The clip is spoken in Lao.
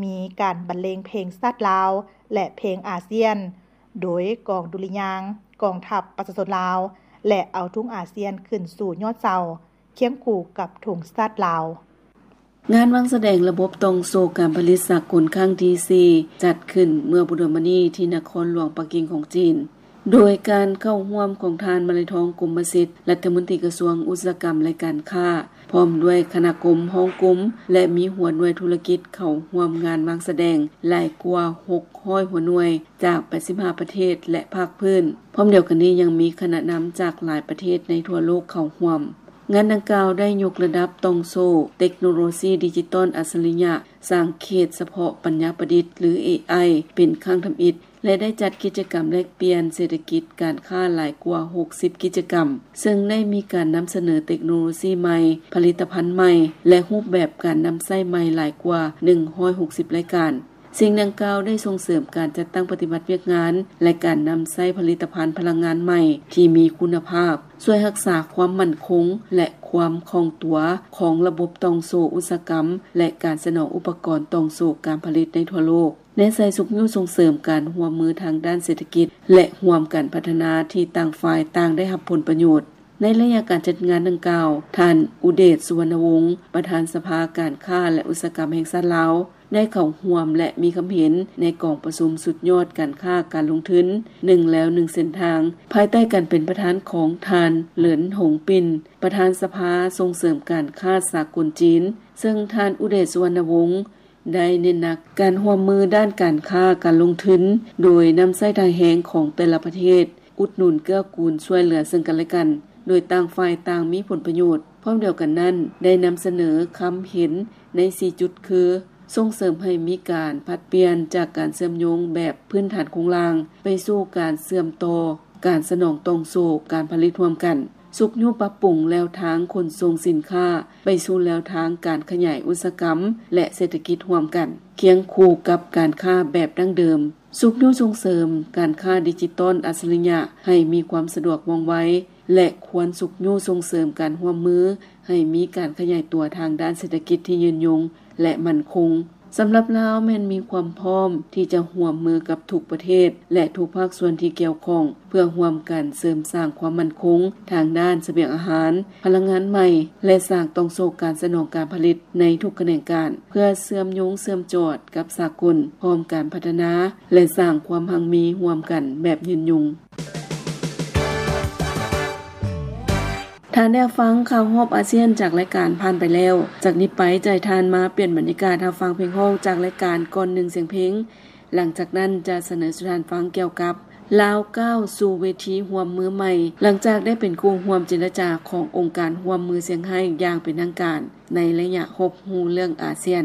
ມີການບັນເລງເພງຊາດລາວ ແລະ ເພງອາຊຽນ ໂດຍກອງດຸລິຍາງກອງທັບປະຊາຊົນລາວ ແລະ ເອົາທຸງອາຊຽນຂຶ້ນສູ່ຍອດເສົາ ຄຽງຄູ່ກັບທຸງຊາດລາວ. ງານວາງສະແດງລະບົບຕ່ອງໂສ້ການຜະລິດສາກົນຄັ້ງທີສີ່ ຈັດຂຶ້ນເມື່ອບໍ່ດົນມານີ້ທີ່ນະຄອນຫຼວງປັກກິ່ງຂອງຈີນ. ໂດຍການເຂົ້າຮ່ວມຂອງທ່ານ ມະໄລທອງ ກົມມະສິດ ລັດຖະມົນຕີກະຊວງອຸດສາຫະກຳ ແລະ ການຄ້າ ພ້ອມດ້ວຍຄະນະກົມ, ຮອງກົມ ແລະ ມີຫົວໜ່ວຍທຸລະກິດເຂົ້າຮ່ວມງານວາງສະແດງຫຼາຍກວ່າຫົກຮ້ອຍຫົວໜ່ວຍ ຈາກແປດສິບຫ້າປະເທດ ແລະ ພາກພື້ນ. ພ້ອມດຽວກັນນີ້ຍັງມີຄະນະນຳຈາກຫຼາຍປະເທດໃນທົ່ວໂລກເຂົ້າຮ່ວມ. ງານດັ່ງກ່າວໄດ້ຍົກລະດັບຕ່ອງໂສ້ເຕັກໂນໂລຊີດິຈິຕອນອັດສະລິຍະ ສ້າງເຂດສະເພາະປັນຍາປະດິດ ຫຼື ເອໄອ ເປັນຄັ້ງທຳອິດ ແລະ ໄດ້ຈັດກິດຈະກຳແລກປ່ຽນເສດຖະກິດການຄ້າຫຼາຍກວ່າຫົກສິບກິດຈະກຳ, ເຊິ່ງໄດ້ມີການນຳສະເໜີເຕັກໂນໂລຊີໃໝ່, ຜະລິດຕະພັນໃໝ່ ແລະ ຮູບແບບການນຳໃຊ້ໃໝ່ຫຼາຍກວ່າໜຶ່ງຮ້ອຍຫົກສິບລາຍການ. ສິ່ງດັ່ງກ່າວໄດ້ສົ່ງເສີມການຈັດຕັ້ງປະຕິບັດວຽກງານ ແລະ ການນຳໃຊ້ຜະລິດຕະພັນພະລັງງານໃໝ່ທີ່ມີຄຸນນະພາບ, ຊ່ວຍຮັກສາຄວາມໝັ້ນຄົງ ແລະ ຄວາມຄ່ອງຕົວຂອງລະບົບຕ່ອງໂສ້ອຸດສາຫະກຳ ແລະ ການສະໜອງອຸປະກອນຕ່ອງໂສ້ການຜະລິດໃນທົ່ວໂລກ. ແນໃສ່ຊຸກຍູ້ສົ່ງເສີມການຮ່ວມມືທາງດ້ານເສດຖະກິດ ແລະ ຮ່ວມກັນພັດທະນາທີ່ຕ່າງຝ່າຍຕ່າງໄດ້ຮັບຜົນປະໂຫຍດ. ໃນໄລຍະການຈັດງານດັ່ງກ່າວ, ທ່ານ ອຸເດດ ສຸວັນນະວົງ ປະທານສະພາການຄ້າ ແລະ ອຸດສາຫະກຳແຫ່ງຊາດລາວ ໄດ້ເຂົ້າຮ່ວມ ແລະ ມີຄຳເຫັນໃນກອງປະຊຸມສຸດຍອດການຄ້າການລົງທຶນ ໜຶ່ງແລວໜຶ່ງເສັ້ນທາງ ພາຍໃຕ້ການເປັນປະທານຂອງທ່ານ ເຫຼີນ ຫົງປິນ ປະທານສະພາສົ່ງເສີມການຄ້າສາກົນຈີນ, ເຊິ່ງທ່ານ ອຸເດດ ສຸວັນນະວົງ ໄດ້ເນັ້ນໜັກການຮ່ວມມືດ້ານການຄ້າການລົງທຶນ ໂດຍນຳໃຊ້ທ່າແຮງຂອງແຕ່ລະປະເທດ ອຸດໜູນເກື້ອກູນຊ່ວຍເຫຼືອເຊິ່ງກັນແລະກັນ ໂດຍຕ່າງຝ່າຍຕ່າງມີຜົນປະໂຫຍດ. ພ້ອມດຽວກັນນັ້ນ ໄດ້ນຳສະເໜີຄຳເຫັນໃນສີ່ຈຸດຄື ສົ່ງເສີມໃຫ້ມີການຜັດປ່ຽນຈາກການເຊື່ອມໂຍງແບບພື້ນຖານໂຄງລ່າງ ໄປສູ່ການເຊື່ອມຕໍ່ການສະໜອງຕ່ອງໂສ້ການຜະລິດຮ່ວມກັນ, ຊຸກຍູ້ປັບປຸງແລວທາງຂົນສົ່ງສິນຄ້າ ໄປສູ່ແລວທາງການຂະຫຍາຍອຸດສາຫະກຳ ແລະ ເສດຖະກິດຮ່ວມກັນ ຄຽງຄູ່ກັບການຄ້າແບບດັ້ງເດີມ, ຊຸກຍູ້ສົ່ງເສີມການຄ້າດິຈິຕອນອັດສະລິຍະໃຫ້ມີຄວາມສະດວກວ່ອງໄວ ແລະ ຄວນຊຸກຍູ້ສົ່ງເສີມການຮ່ວມມືໃຫ້ມີການຂະຫຍາຍຕົວທາງດ້ານເສດຖະກິດທີ່ຍືນຍົງ ແລະ ໝັ້ນຄົງ. ສຳລັບລາວແມ່ນມີຄວາມພ້ອມທີ່ຈະຮ່ວມມືກັບທຸກປະເທດ ແລະ ທຸກພາກສ່ວນທີ່ກ່ຽວຂ້ອງ ເພື່ອຮ່ວມກັນເສີມສ້າງຄວາມໝັ້ນຄົງທາງດ້ານສະບຽງອາຫານ, ພະລັງງານໃໝ່ ແລະ ສ້າງຕ່ອງໂສ້ການສະໜອງການຜະລິດໃນທຸກຂະແໜງການ ເພື່ອເຊື່ອມໂຍງເຊື່ອມຈອດກັບສາກົນ, ພ້ອມການພັດທະນາ ແລະ ສ້າງຄວາມຮັ່ງມີຮ່ວມກັນແບບຍືນຍົງ. ທ່ານໄດ້ຮັບຟັງຂ່າວຮອບອາຊຽນຈາກລາຍການຜ່ານໄປແລ້ວ. ຈາກນີ້ໄປຈະໃຫ້ທ່ານມາປ່ຽນບັນຍາກາດຮັບຟັງເພງຮ້ອງຈາກລາຍການກ່ອນໜຶ່ງສຽງເພງ. ຫຼັງຈາກນັ້ນຈະສະເໜີສູ່ທ່ານຟັງກ່ຽວກັບ ລາວກ້າວສູ່ເວທີຮ່ວມມືໃໝ່ ຫຼັງຈາກໄດ້ເປັນຄູ່ຮ່ວມເຈລະຈາຂອງອົງການຮ່ວມມືຊຽງໄຮ້ຢ່າງເປັນທາງການ ໃນໄລຍະຮັບຮູ້ເລື່ອງອາຊຽນ.